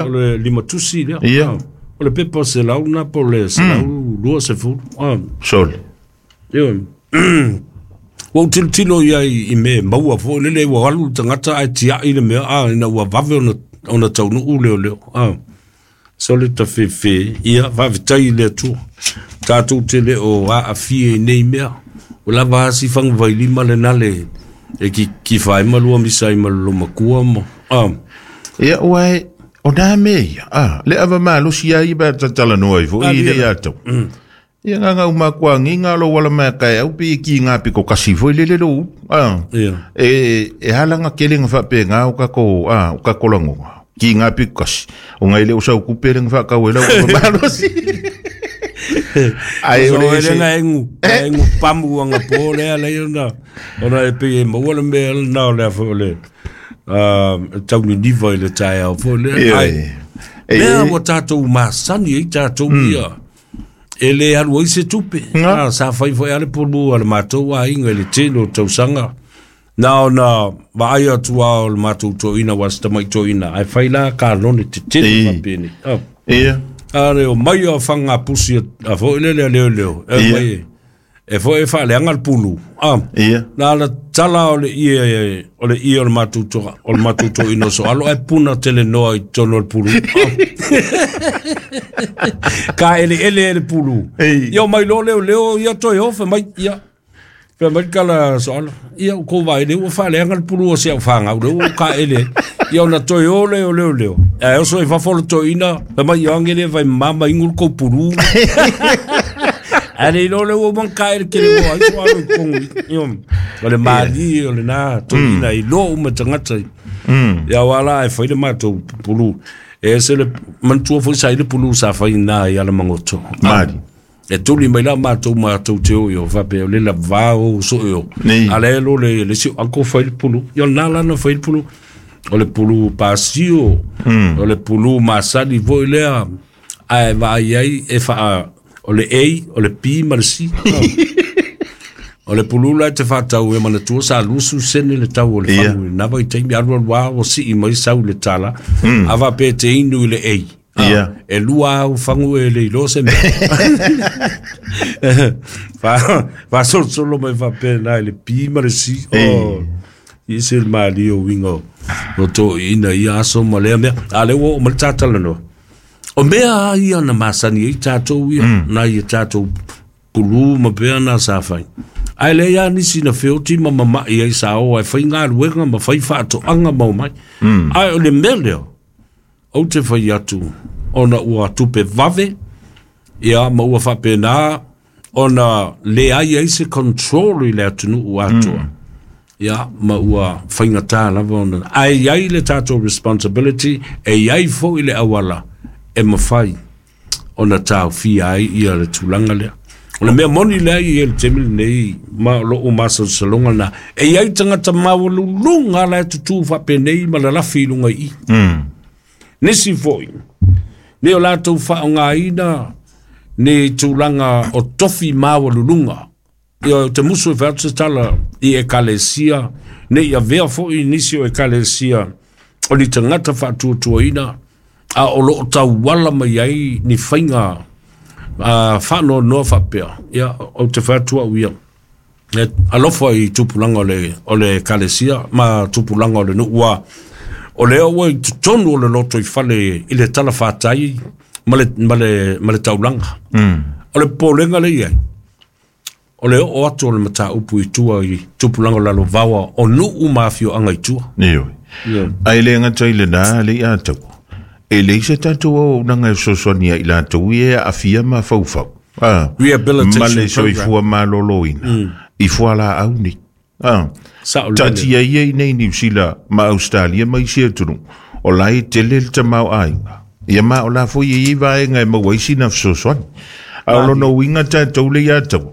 O le limatusi lea. Ia. O le pepa 100 na po o le 120. Sole. Ioe. Ua ou tilotilo i ai i mea e maua foi lele ua alu le tagata ae tiai le mea a ina ua vave ona taunuu leoleo. Sole tafefe, ia faafetai i le Atua. Tatou te le o aafia i nei mea. Ua lava a si fagavailima lena le e kifa ai ma lua misa ai ma le lomakua ma Ia ua e o nā mea ia, le ava malosi a ia pe a tatalanoa ai foi i le ia tau. Ia ngā ngau makua ngi ngā lo wala mea kai au pe ki ngā piko kasi foi lele lo ulu. E hala ngā kele ngā whape ngā o kako, o kako langonga. Ki ngā piko kasi. O ngai le o sau kupe le ngā whakau e lau ava malosi. Ai, o le ese. Engu, engu pamu anga po le ala ia na. Ona e pe e maua le mea na o le a foi o le tauniniva i le taeao foi lea. Ai, mea ua tatou masani ai tatou ia. E le alu ai se tupe. Sa fai foi a le pulu a le matou aiga i le tele o tausaga. Na ona vaai atu lava o le matou toeaina aua se tamai toeaina, ae fai la kalone tetele faapeni. A le omai o fagapusi a foi lele a leoleo, e mai e foi e faaleaga le pulu. Na ala tala o le ie o le ie o le matou toa, o le matou toeaina o Soalo, ae puna tele noa i totonu o le pulu. Ka eleele e le pulu. Ia omai loa leoleo ia toe o, fai mai, ia. Fai mai le tala Soalo, ia o kou vaai lea ua faaleaga le pulu o si au fanau lea ua kaele ai. Ia ona toe o lea o leoleo. Ae oso i fafo le toeaina, fai mai, ia ange le vai mama ingu le kou pulu. Ae le iloa lea ua uma ona kaele kele loa ai Soalo i totonu i. Ia, o le malie o lena toeaina i loa uma tagata. Ia aua la e fai le matou pulu. E ese le manatua foi sa i le pulu sa fai na i Alamagoto. Mali. E tuli mai la matou matou te o i o faapea o le lava o so i o. A le lo le le si uncle fai le pulu. Ia na la na fai le pulu. O le pulu pasio. O le pulu masani foi lea. Ae vaai ai e faa o le A, o le B ma le C. O le pulu la e te faatau e manatua sa 20 sene le tau o le fagu i lena vaitaimi, alu alu lava ua sii mai sau i le tala, a faapea e te inu i le A. E lua au fagu e le iloa se mea. Faasolosolo mai faapena i le B ma le C. Oh, i ese le malie o uiga o toeaiina i ia aso ma lea mea. A lea ua oo mai le ta talanoa. O mea a ia na masani ai tatou ia, nai a tatou pulu ma pea na sa fai. Ae leai lava nisi na feoti ma mama'i ai sa o ae fai galuega ma fai faatoaga ma omai. Ae o le mea lea, ou te fai atu ona ua tupe vave, ia ma ua faapena ona leai ai se control i le atunuu atoa. Ia, ma ua faigata lava ona... Ae i ai le tatou responsibility, e i ai foi le auala e mafai ona taofia ai ia le tulaga lea. O le mea moni lea e i ai i le taimi lenei, ma o lou masalosaloga lena, e i ai tagata maualuluga la e tutū faapenei ma lalafi i luga i i. Nisi foi, nei o latou faaaogaina ni tulaga o tofi maualuluga. Ia, ou te musu e fai atu se tala i ekalesia, ne i avea foi nisi o ekalesia o ni tagata faatuatuaina, a o lo o tauala mai ai ni faiga faanoanoa faapea. Ia, ou te fai atu au ia, e alofa i tupulaga o le ekalesia ma tupulaga o le nuu, aua o lea ua i totonu o le lotoifale i le talafatai ma le taulaga. O le popolega lea e i ai, o le oo atu o le mataupu i tua i tupulaga o lalovaoa o nuu ma afioaga i tua. Ioe. Ae le gata i lena, le i ataua, e leai se tatou auaunaga e fesoasoani ia i latou ia e aafia mafaufau, Rehabilitation ma le program. Soifua maloloina i fualaau nei. Sao lele. Taatia ia i nei Niu Sila ma Ausetalia ma isi atunuu, o la e tele le tamaoaiga. Ia ma o la foi e i ai vaega e maua ai sina fesoasoani. A o lona uiga tatou le ia taua,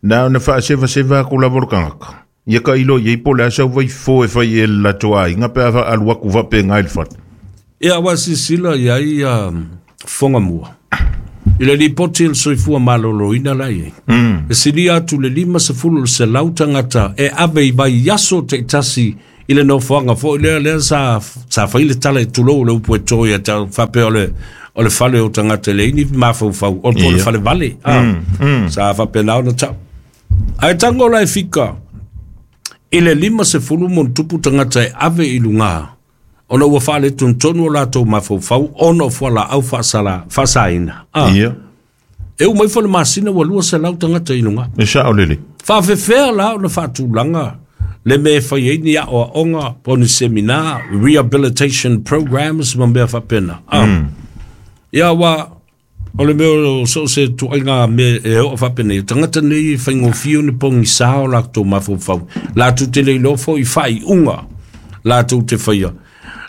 na ona faasevaseva atu lava o le tagata. Ia ka ilo i ai po o le a sau vaifofo e fai e le latou aiga pe a alu atu faapena i le fale. Ia, ua silasila i ai Fogamua i le lipoti a le Soifua Maloloina la e i ai, e silia atu le 50% tagata e ave i vaiaso taitasi i le nofoaga foi lea lea sa sa fai le tala e tulou le upu e to ia tau faapea o le fale o tagata e leai ni mafaufau o po o le fale vale sa faapena ona tau. Ae tago la e fika i le 50 ma ona tupu tagata e ave i luga ona ua faaletonu o latou mafaufau ona o fualaau faasala faasaina. E uma ifo le masina ua 200 tagata i luga. E sao lelei. Faafefea la ona faatulaga le mea e fai ai ni aoaoga po o ni seminar, rehabilitation programs ma mea faapena. Ia ua o le mea o so o se tuaiga mea e oo faapenei, o tagata nei e faigofie ona pogisa o latou mafaufau, latou te le iloa foi faaiuga latou te faia,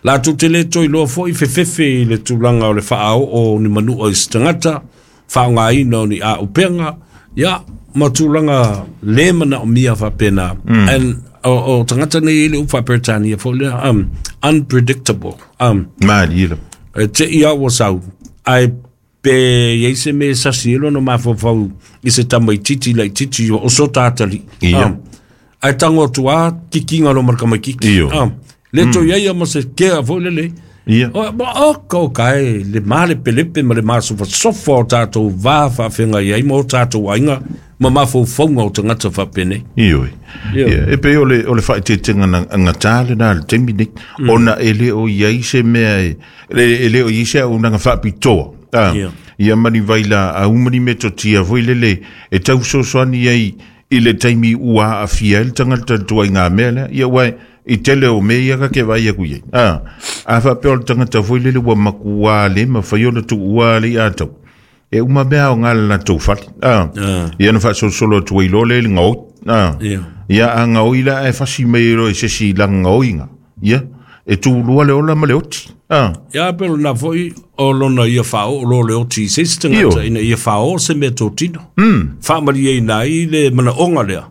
latou te le toe iloa foi fefefe i le tulaga o le faaoo o ni manua i se tagata, faaaogaina o ni auupega, ia ma tulaga le manaomia faapena. And o tagata nei e le upu faa-Peretania foi lea, unpredictable. Malie la. E te ia ua sau, ae pe iai se mea e sasi ai lona mafaufau i se tamaititi laititi o so tatali. Ae tago atu a kikiga lo ma le tamaititi. Le toe iai ia ma se kea foi lele. O ma o ka o kae le malepelepe ma le masofasofa o tatou va faafeagai ai ma o tatou aiga ma mafaufauga o tagata faapenei. Ioe. Ia, e pei o le faaeteetega na gatā lenā le taimi nei, ona e le o i ai se mea e le o i ai se auaunaga faapitoa. Ia ma ni vailaau ma ni metotia foi lele e tau fesoasoani ai i le taimi ua aafia ai le tagata i le tuaiga mea lea. Ia ua i tele o mea ia ka ke vaai aku i ai. A faapea o le tagata foi lele ua makuā le mafai ona tuua le ia tau. E uma mea o ngā le latou fale. Ia na faasolosolo atu ai loa lea i le gaoi. Ia a gaoi la ae fasi mai ai loa i se isi laga gaoiga. Ia, e tulua le ola ma le oti. Ia pe lona foi o lona ia faaoo lo le oti i se isi tagata ina ia faaoo se mea totino. Faamalieina ai le manaoga lea.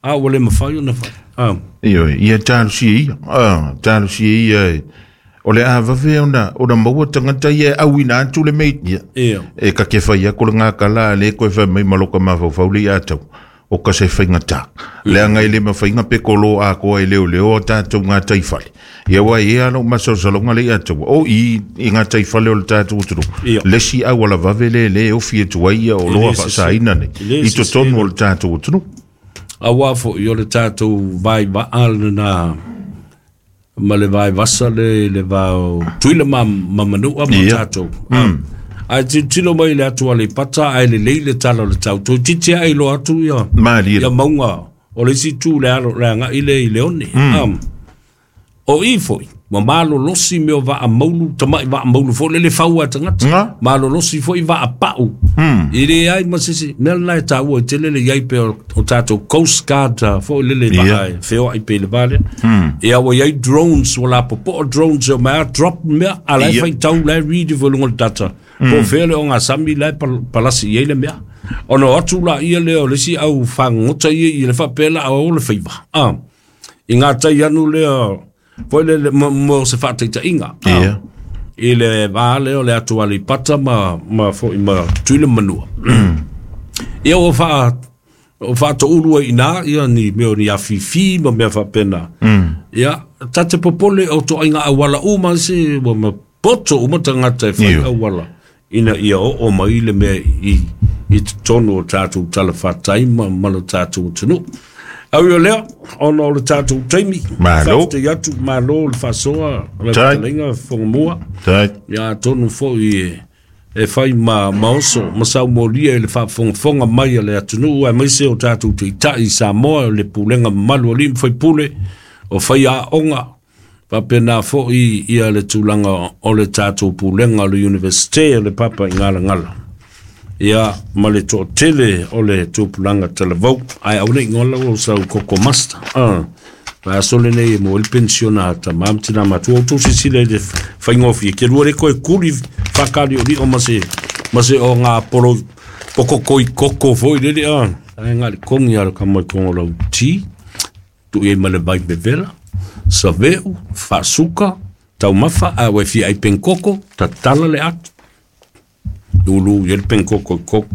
A ua le mafai ona fai. Ioe, ia talosia ia. Talosia ia e. O le a vave ona maua tagata ia e auina atu le mea. Ia. E ka ke whai ako le ngā kala a le koe whai mai maloka mafaufau le ia tau. O ka se whainga tā. Le anga i le mawhainga pe kolo a koa e leo leo o tātou ngā taiwhale. Ia wai e alo masalosaloga le ia tau. O i ngā taiwhale o le tātou uturu. Le si au ala vave le le ofi e tuai ia o loa whaasaina nei. Le I totonu o le tātou uturu. Auā foi o le tatou vai vaa lena ma le vai vasa le va o Tutuila ma Manua ma tatou. Ae tilotilo mai le atu Aleipata ae lelei le tala o le tau. Toeitiiti ae iloa atu ia Malie. ia mauga o le isi itu le alo le agai lea i Leone. O i foi, ua malolosi mea o vaa maulu, tama'i vaa maulu foi lele fau a tagata. Malolosi foi vaa pa'u. E leai ma se isi mea lena e taua ai tele le i ai pea o tatou Coast Guard foi lele vaa e feoai pea i le va lea. Ia ua i ai drones, ua lapopoa drones e omai a drop mea, a la e faitau, la e read ifo i luga o le data. Po o fea le ogasami la e palasi i ai le mea. Ona o atu laia lea o le isi au fagogota ia i le faapea la o le faiva. I ngā tai anu lea, foi lele, mo se faataitaiga. I le vā lea o le atu Aleipata ma foi ma Tutuila ma Manua. Ia ua o faatoulu ai ina ia ni mea o ni afifi ma mea faapena. Ia, ta te popole o toaiga auala uma se ua ma poto uma tagata e fai auala ina ia oo mai le mea i totonu o tatou talafatai ma lo tatou atunuu. Au ia lea, ona o le tatou taimi. Malo. Faafetai atu, malo le faasoa, le fetalaiga Fogamua. Tai. Ia atonu foi e fai ma oso, ma saumolia i le faafogafoga mai a le atunuu, aemaise o tatou taitai i Samoa, o le pulega mamalu a alii ma faipule, o faiaoga, faapena foi ia le tulaga o le tatou pulega o le Universite o le Papaigalagala. Ia, ma le toatele o le tupulaga talavou. Ae aua ne i gola ua sau koko master. Va aso lenei e mo le pensiona a tama ma tina matua. Outou silasila i le faigofie. Ke lua le koe kuli faakaliolio ma se o ngā polo pokokoi koko foi lele. Ai ngā le kongi a le kama i kongo lau ti. Tu i ai ma le vai vevela. Saveu, faasuka, taumafa, a ua e fia ai penkoko, tatala le atu. Lulu i ai le penkoko i koko.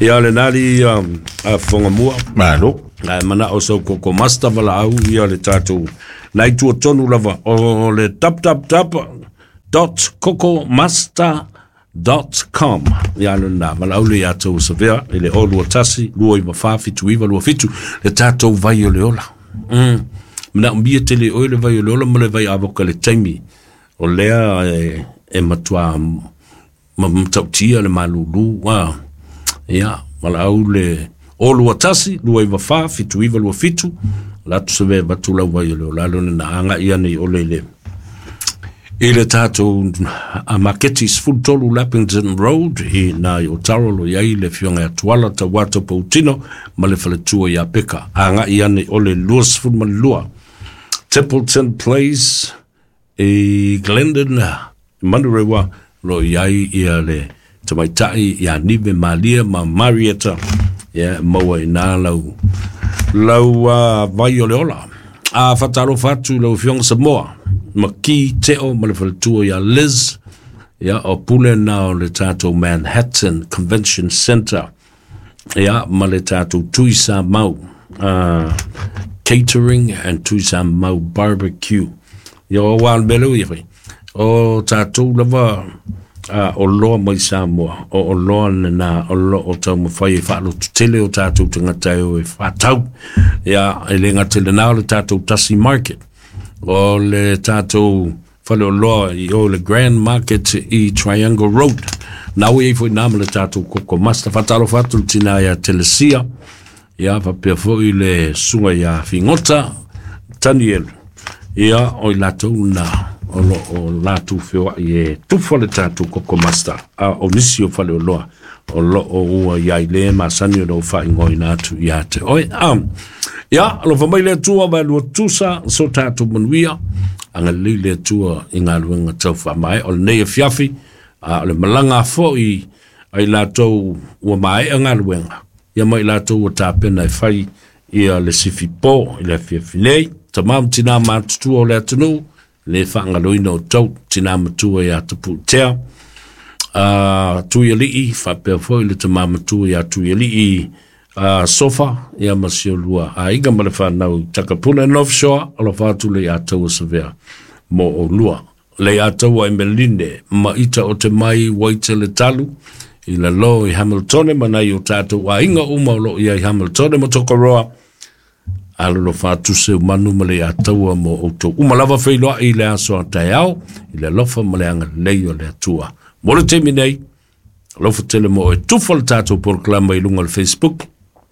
Ia le nali a Fogamua. Malo. Ae mana'o sau koko master valaau ia le tatou nai tuatonu lava o le www.kokomaster.com ia lena valaau le ia tou savea i le 021 294 7927 le tatou vai o le ola. Manaomia tele oe le vai o le ola ma le vai avoka le taimi o lea e matua matautia le malulu ia valaau le 021 294 7927 latu seve vatu lau vai o le ola lona na anga ia nei ole le i le tatou maketi 13 Lappington Road i nā i Otaro lo iai le fionga ia Tuala Tauato Pautino ma le faletua ia Peka. Anga ia nei ole 22 Templeton Place i Glendon Manurewa lo iai ia le tamaitai ia Nive Malia ma Marietta ia maua i nā lau lau vai o le ola. A whatalofa atu lau fionga Samoa ma ki teo ma le faletua ia Liz ia o pule na o le tatou Manhattan Convention Center ia ma le tatou Tuisa Mau Catering and Tuisa Mau Barbecue ia o wā mele ia whai o tatou lava o loa mai Samoa o loa nena o lo o tau mawhai e whaalotu tele o tatou tangata e o e whatau ia e le ngate le nā o le tatou Tasi Market o le tatou whale o loa i o le Grand Market i Triangle Road. Nā ui e fo i nā ma le tatou koko master. Whatalo whatu le tina ia Telesia. Ia whapea fo i le sunga ia Fingota Daniel. Ia o i latou nā o lo o lātou whioa i e tufa le tatou koko master. A o nisi o whale o loa o lo o ua ia i le masani o lo whaingoina atu ia te oe. Ia, alofa mai le Atua mai lua tusa so tatou manuia anga lei le Atua i ngā luenga tau whaamae o le nei e fiafi o le malanga foi ai latou ua maea ngā luenga ia mai latou ua tāpena e whai ia le sifi pō i le fiafi nei tamam tina mātutua o le atunuu le whaangaloina o tau tina matua ia tapu tea Tuialii whapea foi le tamā matua ia Tuialii sofa ia ma si o lua a inga ma le whanau Takapuna North Shore o lo whātu le ia taua savea mo o lua le ia taua e Meline ma ita o te mai waite le talu i la lo i Hamiltone ma nai o tātou a inga uma o lo ia i Hamiltone ma Tokoroa alo lo whātu se manu ma le ia taua mo o tau uma lava whailoa i le aso a tai i le lofa ma le anga lei o le atua mo le teimi nei alofa tele mo e tufa le tātou porokalama i lunga o le Facebook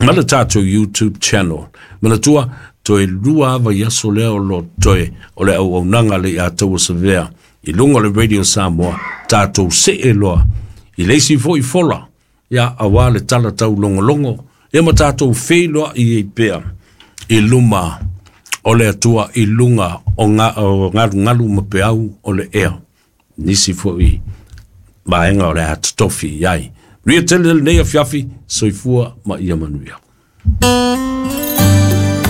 ma le tātou YouTube channel. Manatua, toe lua ava i aso lea o lo toe o le au aunaga le ia taua savea i lunga o le Radio Samoa tātou se e loa i leisi foi fola ia awā le tala tau longolongo ia ma tātou wheiloa i ei pea i luma o le atua i lunga o ngalu ngalu ma peau o le ea nisi foi vaenga o le atotofi iai. Ria tele le nei afiafi, soifua ma ia manuia.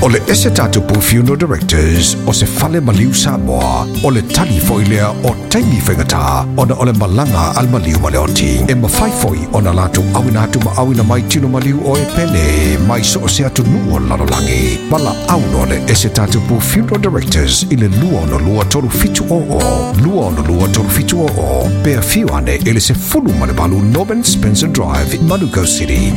O le ese tātou Funeral Directors o se fale maliu Samoa o le tali foi lea o taimi whaingata ona o le malanga al maliu ma le oti. E mawhai foi ona lātou awina atu ma awina mai tino maliu o e pele mai so o se atu nuu o lalolangi. Mala auno le ese tātou Funeral Directors i le 262 37 o 262 37 o pea fiu ane ele se fulu ma le balu Norman Spencer Drive, Manukau City.